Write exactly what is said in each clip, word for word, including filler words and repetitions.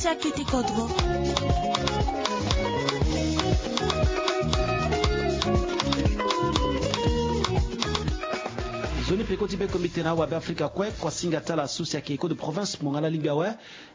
Ti akete kodro. Nzoni peko ti be komite na awabe afrika kue. Kuasinga ti ala so si ayeke écho de province mo nga la lingbi awe.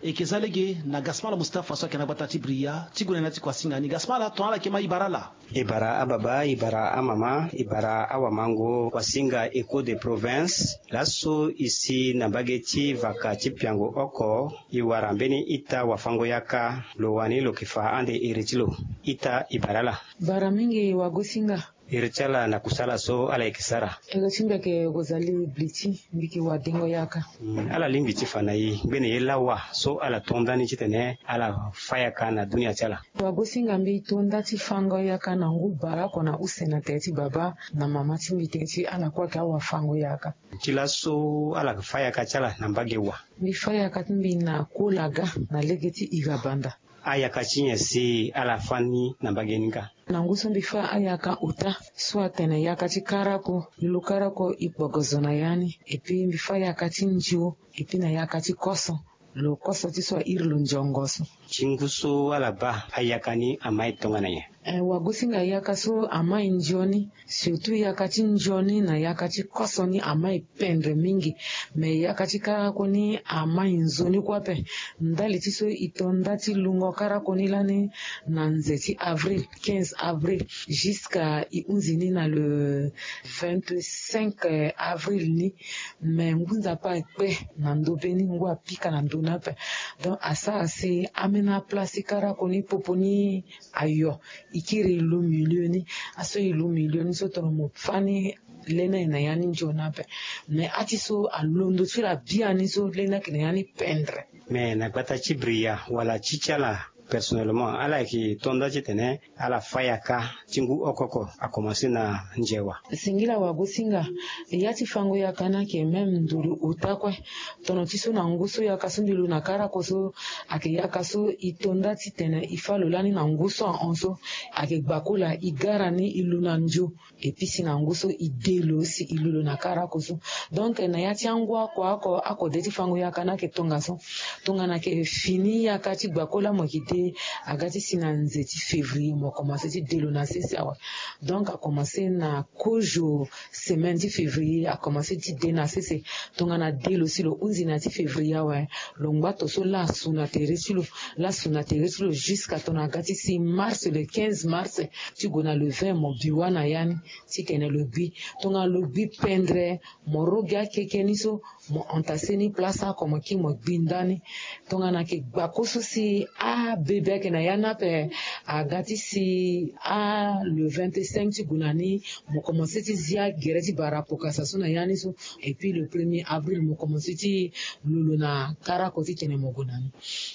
E yeke za lege na gasmala mustapha so ayeke na gbata ti bria ti gue na ya ti kuasinga ni. Gasmala ton ala yeke ma e bara ala. E bara ababa, e bara amama, e bara awamango. Kuasinga écho de province, laso e si na mbage ti vaka ti piango oko, e wara mbeni ita wafango-yaka. Lo wani lo yeke fa ande iri ti lo. Ita e bara ala. Bara mingi wagosinga. Iri ti ala na kusala so ala yeke sara. Iri ti mbi ayeke kozali bliti, mbi yeke wadengo-yaka. Ala lingbi ti fa na e ngbene ye lawa so ala to nda ni titene ala fa yaka na dunia ti ala. Wagosinga, mbi to nda ti fango yaka na ngu bara oko na use na tere ti baba na mama ti mbi tene ti ala kue ayeke awafango yaka. Ti laso ala fa yaka ti ala na mbage wa? Mbi fa yaka ti mbi na kolaga na lege ti irabanda. Ayaka ti nyen si ala fa ni na mbage ni nga? Na ngu so mbi fa ayaka ota so atene yaka ti karako, lulu karako e kpogo zo na ya ni. Epi mbi fa yaka ti ndio, epi na yaka ti koso, lo koso ti so airi lo njongo so. Ti ngu so ala baa ayaka ni ama e tongana nyen? Eh, wagosinga, yaka so ama e ndio ni, surtout yaka ti ndio ni na yaka ti koso ni ama e pendre mingi. Me yaka ti karako ni ama e nzoni kue ape. Ndali ti so e to nda ti lungo karako ni lani na nze ti avril, quinze avril, jusqu'à e hunzi ni na le vingt-cinq avril ni. Me ngu nzapa akpe na ndo be ni, ngu apika na ndo ni ape. Donc asara si amena place ti karako ni popo ni ayo. E kiri e lu milieu ni. Aso e lu milieu ni so tongana mo fa ni, lene ayeke na ya ni nzoni ape. Me ati so alondo ti lo abia ni so lene ayeke na ya ni pendre. Me na gbata ti bria wala ti ti ala personnellement, ala yeke to nda titene ala fa yaka ti ngu oko oko akomanse na nze wa? Singila wagosinga. Ya ti fango yaka ni ayeke même nduru ota kue. Tono ti so na ngu so yaka so mbi lu na karako so, ayeke yaka so e to nda titene e fa lo lani na ngu so ahon so. Ayeke gbakola e gara ni e lu na ndio. Epi si na ngu so e de lo si e lu lo na karako so. Donc na ya ti angu oko oko akode ti fango yaka ni ayeke tongaso. Tongana ayeke fini yaka ti gbakola mo yeke de, aga ti si na nze ti février mo komanse ti de lo na sese awe. Donc akomanse na kozo semaine ti février akomanse ti de na sese. Tongana de lo si lo hunzi na ya ti février awe, lo ngba to so lasu na tere ti lo, lasu na tere ti lo jusqu'à tongana aga ti si mars, le quinze mars ti gue na le vingt mo bi wa na ya ni. Titene lo gbi. Tongana lo gbi pendre, mo roge akeke ni so, mo entasse ni place oko mo kiri mo gbi nda ni. Tongana ayeke gbako so si abebe ayeke na ya ni ape, aga ti si a le vingt-cinq ti gue na ni, mo komanse ti zi agere ti bara apokasa so na ya ni so. Epuis le premier avril mo komanse ti lu lo na karako titene mo gue na ni.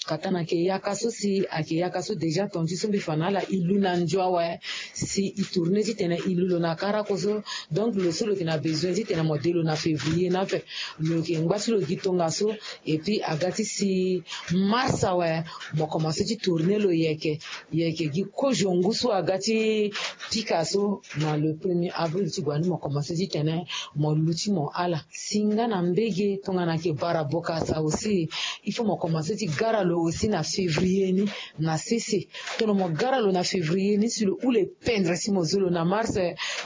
Kata na ayeke yaka so si ayeke yaka so déjà ton ti so mbi fa na ala e lu na ndio awe. Si e tourne titene e lu lo na karako so. Donc lo so lo yeke na besoin titene mo de lo na février ni ape. Lo yeke ngba ti lo gi tongaso. Epuis aga ti si mars awe, mo komanse ti tourne lo yeke. Yeke gi kozo ngu so aga ti pika so. Na le premier avril ti gue na ni mo komanse titene mo lu ti mo ala. Si nga na mbege tongana ayeke bara bokasa aussi, il faut mo komanse ti gara lo aussi na février ni. Na sese, tongana mo gara lo na février ni si lo hule pendre si mo zo lo na mars,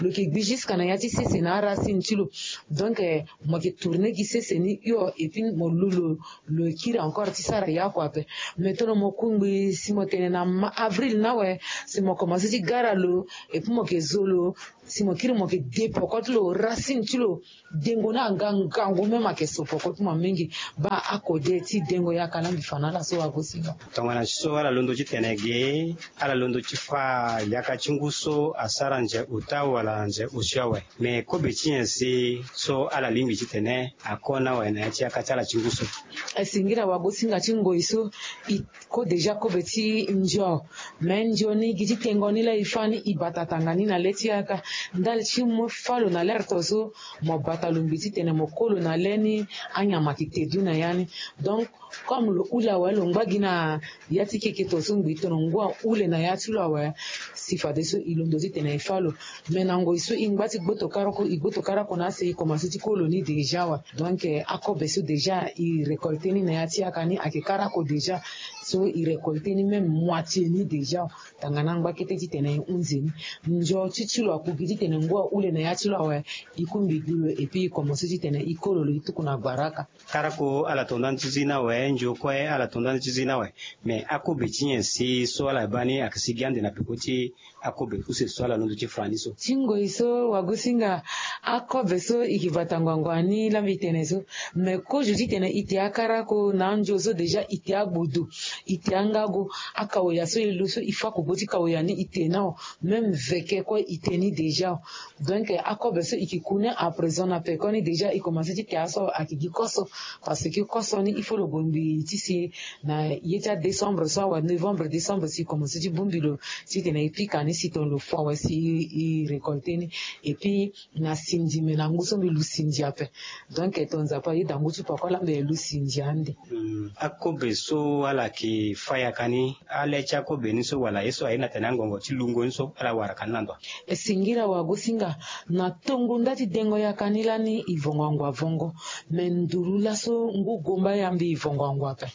lo yeke gbi jusqu'à na ya ti sese na aracine ti lo. Donc mo yeke tourne gi sese ni hio epuis mo lu lo, lo kiri encore ti sara ya kua ape. Mais tongana mo kungbi si mo tene na avril ni awe, si mo komanse ti gara lo, epuis mo yeke zo lo, si mo kiri mo yeke de poko ti lo, racine ti lo, dengo ni anga ngangu même ayeke so poko ti mo mingi. Baa akode ti dengo yaka laa mbi fa na ala so wagosinga. Tongana so ala londo titene ge, ala londo ti fa yaka ti ngu so asara nze ota wala nze osio awe. Me kobe ti nyen si so ala lingbi titene akona awe na ya ti yaka ti ala ti ngu so? Esingila wagosinga ti ngoi so e ko déjà kobe ti ndio. Me ndio ni gi ti tengo ni laa e fa ni e bata tanga ni na le ti yaka. Ndali ti mo fa lo na lere to so, mo bata longbi titene mo ko lo na le ni. Anyama yeke te du na ya ni. Donc comme lo hule awe lo ngba gi na ya ti keke to so ngbi tono ngu ahule na ya ti lo awe. Si fadeso e londo titene e fa lo. Me na ngoi so e ngba ti gboto karako, e gboto karako na ase e komanse ti ko lo ni déjà awe. Donc akobe so déjà e récolte ni na ya ti yaka ni ayeke karako déjà. So e récolter ni même moitié ni déjà. Tangana angba kete titene e hunzi ni. Ndio ti ti lo aku gi titene ngu ahule na ya ti lo awe. E ku mbi gi lo et puis e commencer titene e kolo lo e tuku na gbaraka. Karako ala tonda ni ti zi ni awe, ndio kue ala tonda ni ti zi ni awe. Mais akobe ti nyen si so ala baa ni ayeke si gi ande na peko ti akobe use so ala londo ti fa ni so? Ti ngoi so wagosinga, akobe so e ke bata ngbangba ni la mbi tene so. Mais kozo titene e te akarako na andio so déjà e te agbodo, e te angago. Akaoya so e lo so e fa kobo ti kaoya ni e te na o. Même veke kue e te ni déjà. Donc akobe so e ke ku ni à présent na peko ni déjà e commencer ti te aso ayeke gi koso. Parce que koso ni il faut lo bongbi ti si na ye ti adécembre so awe, novembre décembre si e commencer ti bongbi lo titene e pika ni si tongana lo fo awe si e récolter ni. Et puis na sindi me na ngu so mbi lu sindi ape. Donc ton Nzapa ayeda ngu ti pako ala mbi lu sindi ande. Akobe so ala yeke fa yaka ni, ale ti akobe ni so wala ye so aye na tene angongo ti lungo ni so ala waraka ni na ndo? E singila wagosinga. Na tongo nda ti dengo yaka ni lani e vongo angua vongo. Me nduru laso ngu gomba ya mbi e vongo angua ape.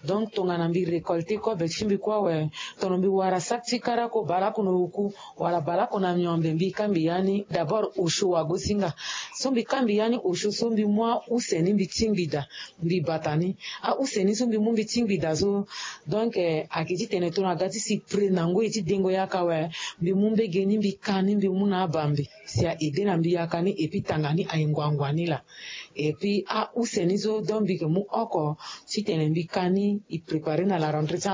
Donc tongana mbi récolter kobe ti mbi kue awe, tongana mbi wara saki ti karako baleoko na oku wala baleoko na miombe, mbi ka mbi ya ni d'abord osio wagosinga. So mbi ka mbi ya ni osio so mbi mu ause ni mbi tingbi daa. Mbi bata ni ause ni so mbi mu mbi tingbi daa so. Donc ayeke titene tongana aga ti si près na ngoi ti dengo yaka awe, mbi mu mbege ni mbi ka ni mbi mu na abambe si a aider na mbi yaka ni. Et puis tanga ni aye ngbangba ni laa. Et puis ause ni so donc mbi yeke mu oko titene mbi ka ni e préparer na la rentrée ti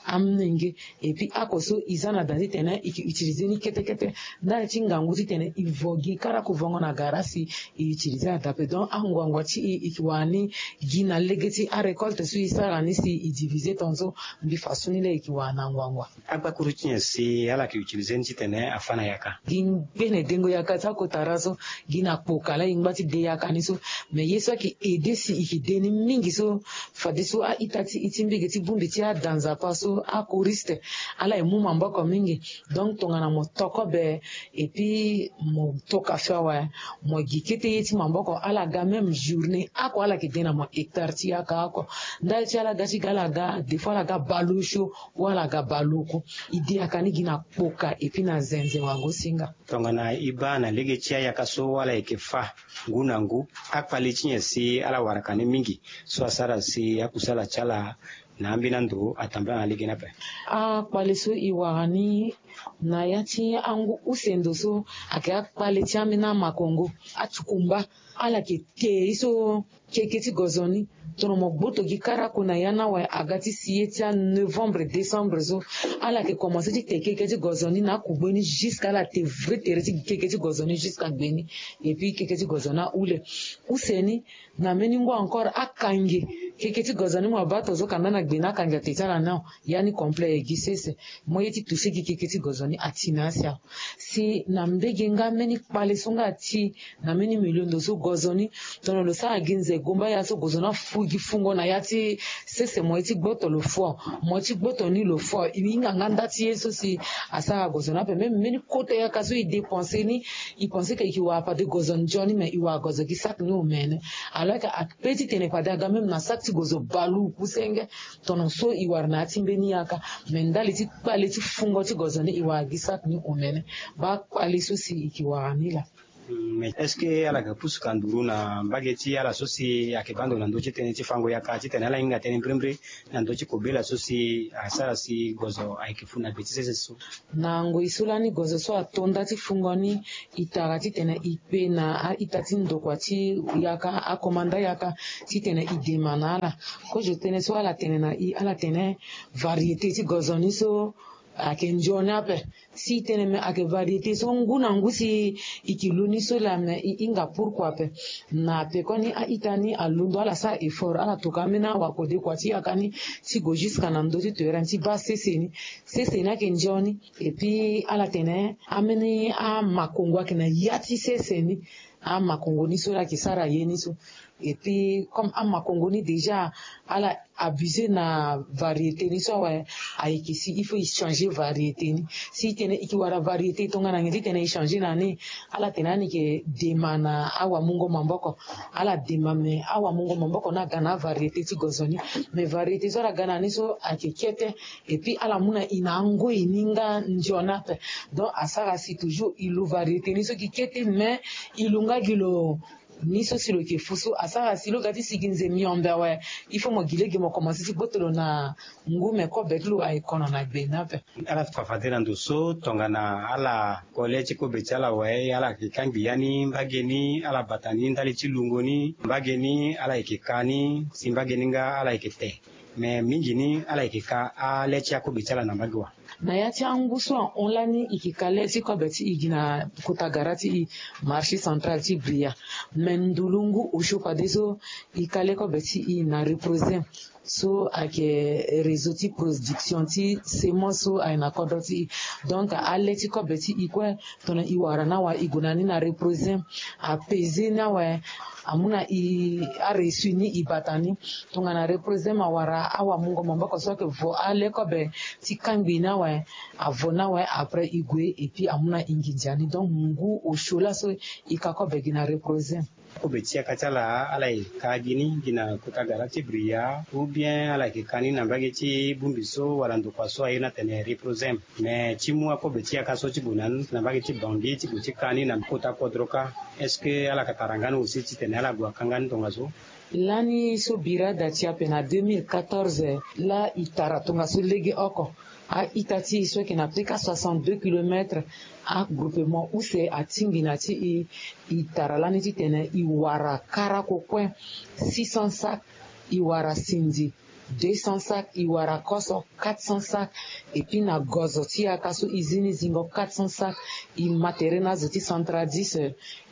amolenge. Et puis oko so e za na daa titene e ke utiliser ni kete kete. Ndali ti ngangu titene e vo gi karako vongo na gara si e utiliser na daa ape. Donc anguangu ti e e ke wara ni gi na lege ti arécolte so e sara ni si e diviser tongaso. Mbi fa so ni laa e ke wara na anguangu. Agbakuru ti nyen si ala yeke utiliser ni titene afa na yaka? Gi ngbene dengo yaka ti akota ra so, gi na kpoka laa e ngba ti de yaka ni so. Mais ye so ayeke aider si e ke de ni mingi so, fadeso a-ita ti e ti mbege ti bongbi ti ada Nzapa so, achoristes, ala ye mu maboko mingi. Donc tongana mo to kobe, et puis mo to kafe awe, mo gi kete ye ti maboko, ala ga même journée oko ala yeke de na mo hectare ti yaka oko. Ndali ti ala ga ti ga ala ga des fois ala ga baleosio, wala aga baleoko. E de yaka ni gi na kpoka et puis na zenze wagosinga. Tongana e baa na lege ti ayaka so ala yeke fa ngu na ngu, akpale ti nyen si ala waraka ni mingi so asara si akusala ti ala na ambeni ando atambula na lege ni ape? Akpale so e wara ni na ya ti angu use ndo so ayeke akpale ti ambeni amakongo, atukumba, ala yeke te ye so keke ti gozo ni. Tongana mo gboto gi karako na ya ni awe, aga ti si ye ti anovembre décembre so, ala yeke commencer ti te keke ti gozo ni na akugbe ni jusqu'à ala te vrai tere ti gi keke ti gozo ni jusqu'à gbe ni. Et puis keke ti gozo ni ahule. Use ni, na mbeni ngu encore akange keke ti gozo ni, mo baa tongaso kanda na gbe ni akange ate ti ala ni awe. Ya ni complet aye gi sese. Mo ye ti toucher gi keke ti gozo ni ati na asi awe. Si na mbege nga mbeni kpale so nga ati na mbeni milion ndo so gozo ni, tongana lo sara gi nze gomba ya so gozo ni afu gi fungo na ya ti sese, mo ye ti gboto lo fo, mo ye ti gboto ni lo fo. E hinga nga nda ti ye so si asara gozo ni ape. Même mbeni kota yaka so e dépenser ni, e penser que e ke wara pade gozo nzoni, mais e wara gozo gi saki ni omene. Alors que ape ti tene pade aga même na saki ti gozo baluku senge. Tongana so e wara na ya ti mbeni yaka, mais ndali ti kpale ti fungo ti gozo ni e wara gi saki ni omene. Baa kpale so si e ke wara ni laa. Mm, mais est-ce que ala yeke pusu ka nduru na mbage ti ala so si ayeke baa ndo na ndö ti tënë ti fango yaka titene ala hinga tënë mbrimbri na ndö ti kobela so si asara si gozo ayeke fu na be ti sese so? Na ngoi so lani gozo so ato nda ti fungo ni, e tara titene e kpe na a-ita ti ndokua ti yaka, akomanda yaka, titene e dema na ala. Kozo tënë so ala tene na e, ala tene variété ti gozo ni so ayeke nzoni ape. Si e tene me ayeke variété so ngu na ngu si e ke lu ni so laa, me e hinga pourquoi ape. Na pekoni a-ita ni alondo ala sara effort, ala toka ambeni awakode kua ti yaka ni ti gue jusqu'à na ndö ti terrain ti baa sese ni. Sese ni ayeke nzoni. Et puis ala tene ambeni amakongo ayeke na ya ti sese ni. Amakongo ni so laa ayeke sara ye ni so. Et puis comme amakongo ni déjà ala abusé na variété ni so awe, ayeke si il faut e changer variété ni. Si e tene e ke wara variété tongana nyen ti tene e changer na ni? Ala tene ani ke dema na awamungo maboko. Ala dema me awamungo maboko ni aga na avariété ti gozo ni. Mais variété so ala ga na ni so ayeke kete. Et puis ala mu na e na angoi ni nga ndio ni ape. Donc asara si toujours e lu variété ni so gi kete, mais e lu nga gi lo ni so si lo yeke fu so asara si lo ga ti sigi nze miombe awe. Il faut mo gi lege mo komanse ti gboto lo na ngu me kobe ti lo aye kono na gbe ni ape. Ala fade na ndo so tongana ala kole ti kobe ti ala awe, ala yeke kangbi ya ni mbage ni, ala bata ni ndali ti lungo ni mbage ni, ala yeke ka ni si mbage ni nga ala yeke te. Me mingi ni ala yeke ka ale ti akobe ti ala na mbage wa. Na ya ti angu so ahon lani e ke ka le ti kobe ti e gi na kota gara ti e, marché central ti Bria. Me ndulungu osio fadeso e ka le kobe ti e na Reprosem so ayeke réseau ti production ti semence so aye na kodro ti e. Donc ale ti kobe ti e kue tongana e wara ni awe e gue na ni na Reprosem, apese ni awe, amu na e areçu ni e bata ni. Tongana Reprosem awara awamungo maboko so ayeke vo ale kobe ti kangbi ni awe, avo ni awe, après e gue et puis amu na e nginza ni. Donc ngu osio laso e ka kobe gi na Reprosem. Kobe ti yaka ti ala ala yeke ka gi ni gi na kota gara ti Bria, ou bien ala yeke ka ni na mbage ti bongbi so wala ndokua so aye ni atene Reprosem. Me ti mu akobe ti yaka so ti gue na ni na mbage ti Bangui ti gue ti ka ni na kota kodro kâ, est-ce que ala yeke tara nga ni aussi titene ala gue aka nga ni tongaso? Lani so bira da ti ape na deux mille quatorze, laa e tara tongaso legeoko. A-ita ti e so ayeke na peka soixante-deux kilomètres, agroupement use atingbi na ti e. E tara lani titene e wara karako kue six cents sacs, e wara sindi deux cents sacs, e wara koso quatre cents sacs. Et puis na gozo ti yaka so e zi ni zingo quatre cents sacs, e ma tere na azo ti Centre dix.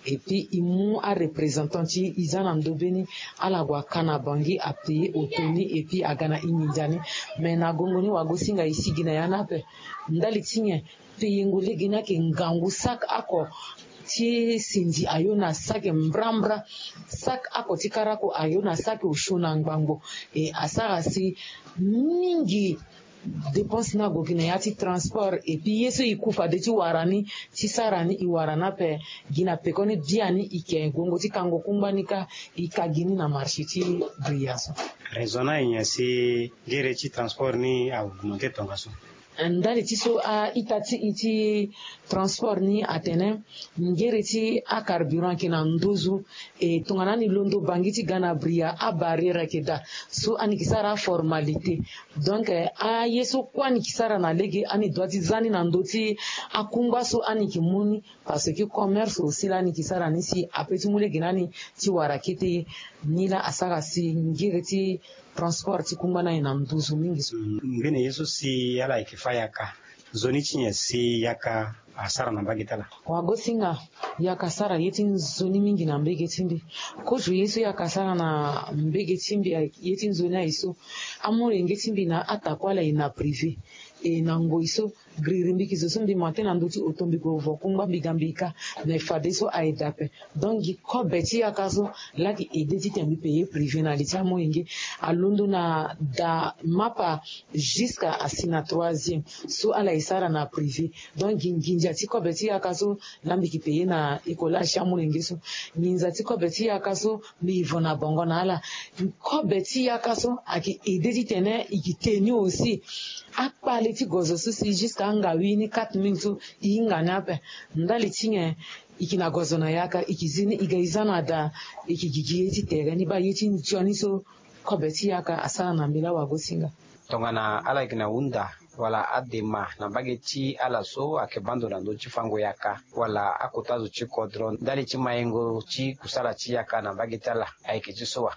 Et puis e mu areprésentant ti e, e za na ndobeni, ala gue aka na Bangui, apaye auto ni et puis aga na e nginza ni. Mais na gongo ni wagosinga e sigi na ya ni ape. Ndali ti nyen? Payengo lege ni ayeke ngangu. Sac oko ti sindi ayo na sac mbrambra. Sac oko ti karako ayo na sac osio na ngbangbo. E asara si mingi dépense ni ague gi na ya ti transport. Et puis ye so e ku fade ti wara ni, ti sara ni, e wara ni ape gi na pekoni biani. E ke gongo ti kango kungba ni kâ, e ka gi ni na marché ti Bria so. Raison ni aye nyen si ngere ti transport ni a augmenté tongaso? Ndali ti so a-ita ti e ti transport ni atene ngere ti acarburant ayeke na nduzu. E tongana ni londo Bangui ti ga na Bria, abarrière ayeke daa. So ani yeke sara aformalité. Donc eh, aye so kue ani yeke sara na lege, ani doit ti za ni na ndö ti akungba so ani yeke mu ni. Parce que commerce aussi laa ani yeke sara ni si ape ti mu lege na ni ti wara kete ye. Ni laa asara si ngere ti transport ti kungba ni aye na nduzu mingi so. Mm, mbeni ye so si ala yeke fâ yaka, nzoni ti nyen si yaka asara na mbage ti ala? Wagosinga, yaka asara ye ti nzoni mingi na mbage ti mbi. Kozo ye so yaka asara na mbage ti mbi, ye ti nzoni aye so, amolenge ti mbi na atakua ala e na privé. E na ngoi so, giriri mbi yeke zo so mbi ma tê na ndö ti oto, mbi gue vo kungba, mbi ga mbi kâ. Mais fadeso aye daa ape. Donc gi kobe ti yaka so laa ayeke aidé titene mbi payer privé na li ti amolenge. Alondo na da mapa jusqu'à asi na troisième so ala e sara na privé. Donc gi nginza ti kobe ti yaka so laa mbi yeke payer na écolage ti amolenge so. Nginza ti kobe ti yaka so mbi vo na bongo na ala. Kobe ti yaka so ayeke aidé titene e yeke teni aussi akpale ti gozo so si jusqu'à angawi ni quatre mille so e hinga ni ape. Ndali ti nyen? E yeke na gozo na yaka, e yeke zi ni, e ga e za na da, e yeke gigi ye ti tere ni baa ye ti nzoni so kobe ti yaka asara na mbi laa wagosinga. Tongana ala yeke na hunda wala adema na mbage ti ala so ayeke baa ndo na ndö ti fango yaka wala akota zo ti kodro ndali ti mayengo ti kusala ti yaka na mbage ti ala, ayeke ti so wa?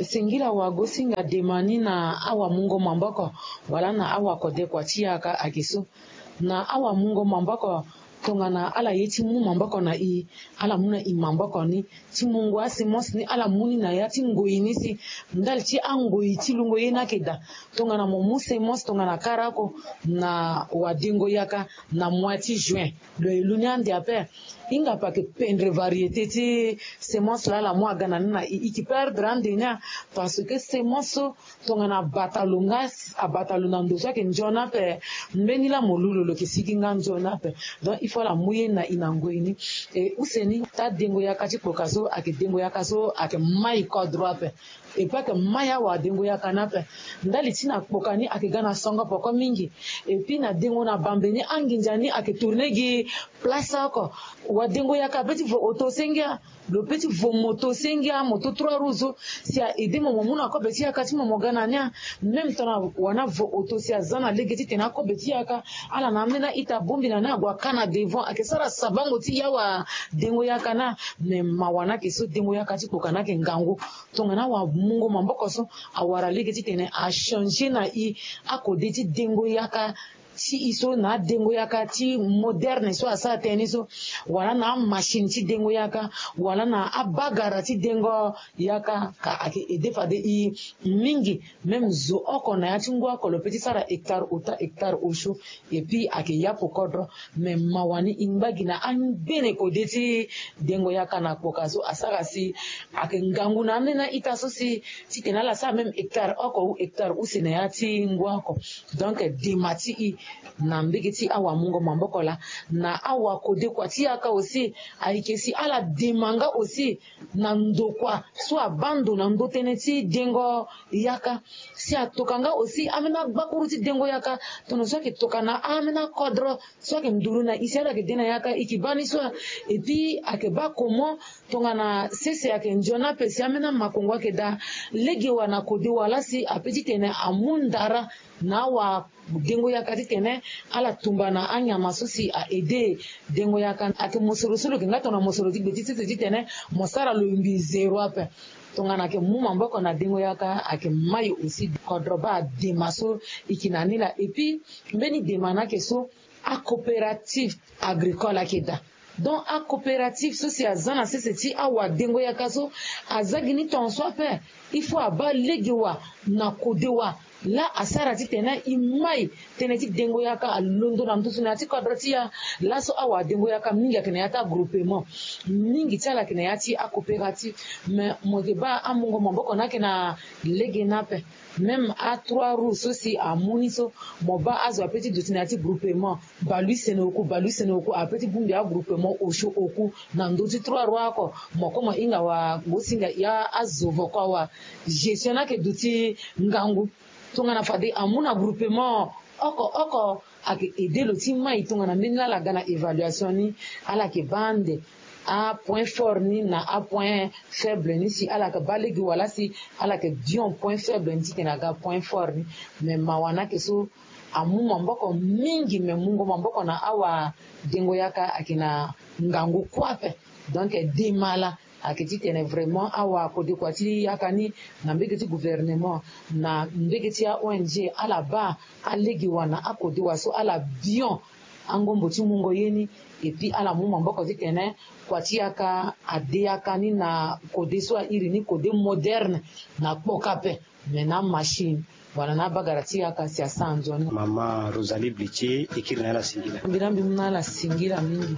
Singila wagosinga, dema ni na awamungo maboko wala na awakodekua ti yaka ayeke so. Na awamungo maboko, Tongana ala ye ti mu maboko na i, ala mu na i maboko ni ti mungo asemence ni ala mu ni na ya ti ngoi ni si ndali ti angoi ti lungo ye ni ayeke daa. Tongana mo mu semence tongana kara oko na wadengo yaka na mois ti juin, lo ye lu ni ande ape. Hinga pa ke pendre variété ti semence laa ala mu aga na ni na i, i ke perdre ande ni a. Parce que semence so tongana abata lo nga, abata lo na ndo so ayeke nzoni ape, mbeni laa mo lu lo lo ke sigi nga nzoni ape. Donc il faut ala mu ye na i na ngoi ni. E use ni taa dengo yaka ti kpoka so ayeke dengo yaka so ayeke mai kodro ape. E pe ayeke mai awadengo yaka ni ape. Ndali ti na kpoka ni ayeke ga na songo poko mingi. E puis na dengo na bambe ni anginza ni ayeke tourne gi place oko. Wadengo yaka ape ti vo oto senge a. Lo pe ti vo moto senge a, moto trois roues so si a aide mo mo mu na kobe ti yaka ti mo mo ga na ni a. Même tongana wani avo oto si aza na lege titene akobe ti yaka, ala na ambeni a-ita abongbi na ni ague aka na devant ayeke sara sabango ti ya awadengo yaka ni a. Mais mawa ni ayeke so dengo yaka ti kpoka ni ayeke ngangu. Tongana awamungo maboko so awara lege titene achange na i akode ti dengo yaka ti i so na adengo yaka ti moderne so asara tënë ni so, wala na amachine ti dengo yaka, wala na abagara ti dengo yaka, ka ayeke aide fade i mingi. Même zo oko na ya ti ngu oko lo pe ti sara hectare ota hectare osio. Et puis ayeke yapu kodro. Mais mawa ni i ngba gi na angbene kode ti dengo yaka na kpoka so asara si ayeke ngangu na ambeni a-ita so si titene ala sara même hectare oko ou hectare use na ya ti ngu oko. Donc dema ti i na mbege ti awamungo maboko laa, na awakodekua ti yaka aussi, ayeke si ala dema nga aussi na ndokua so abaa ndo na ndo tënë ti dengo yaka. Si atoka nga aussi ambeni agbakuru ti dengo yaka, tongana so ayeke toka na ambeni akodro so ayeke nduru na i si ala yeke de na yaka, i ke baa ni so. Et puis ayeke baa comment tongana sese ayeke nzoni ape si ambeni amakongo ayeke daa, lege wa na kode wa laa si ape titene amu ndara na awadengo yaka titene ala tumba na anyama so si a aide dengo yaka. Ayeke mosoro so lo yeke nga tongana mosoro ti gbe ti sese titene mo sara lo yumbi zéro ape. Tongana ayeke mu maboko na dengo yaka ayeke mai aussi. Kodro baa dema so i ke na ni laa. Et puis mbeni dema ni ayeke so, acoopérative agricole ayeke daa. Donc acoopérative so si aza na sese ti awadengo yaka so, aza gi ni tongaso ape. Il faut abaa lege wa na kode wa laa asara titene i mai tënë ti dengo yaka alondo na nduzu na ya ti kodro ti ya. Laso awadengo yaka mingi ayeke na ya ti agroupement, mingi ti ala ayeke na ya ti acoopérative. Mais mo yeke baa amungo maboko ni ayeke na lege ni ape. Même a trois roues so si amu ni so, mo baa azo ape ti duti na ya ti groupement. Balusene oku, balusene oku ape ti bongbi agroupement osio oku na ndö ti trois roues oko. Mo kue mo hinga wa, mo singa ya azo voko awa. Gestion ni ayeke duti ngangu. Tongana fade amu na groupement oko oko, ayeke aide lo ti mai tongana mbeni laa ala ga na évaluation ni, ala yeke baa ande apoint fort ni na apoint faible ni si ala yeke baa lege wa laa si ala yeke bion point faible ni titene aga point fort ni. Mais mawa ni ayeke so, amu maboko mingi, mais mungo maboko na awadengo yaka ayeke na ngangu kue ape. Donc dema laa ayeke titene vraiment awakodekua ti yaka ni, na mbege ti gouvernement, na mbege ti a-O N G, ala baa alege wa na akode wa so ala bion angombo ti mungo ye ni. Et puis ala mu maboko titene kua ti yaka ade yaka ni na kode so a iri ni kode moderne na kpoka ape. Mais na machine wala na abagara ti yaka si asara nzoni. Mama Rosalie Blitie, e kiri na ala singila. Mbi na mbi mu na ala singila mingi.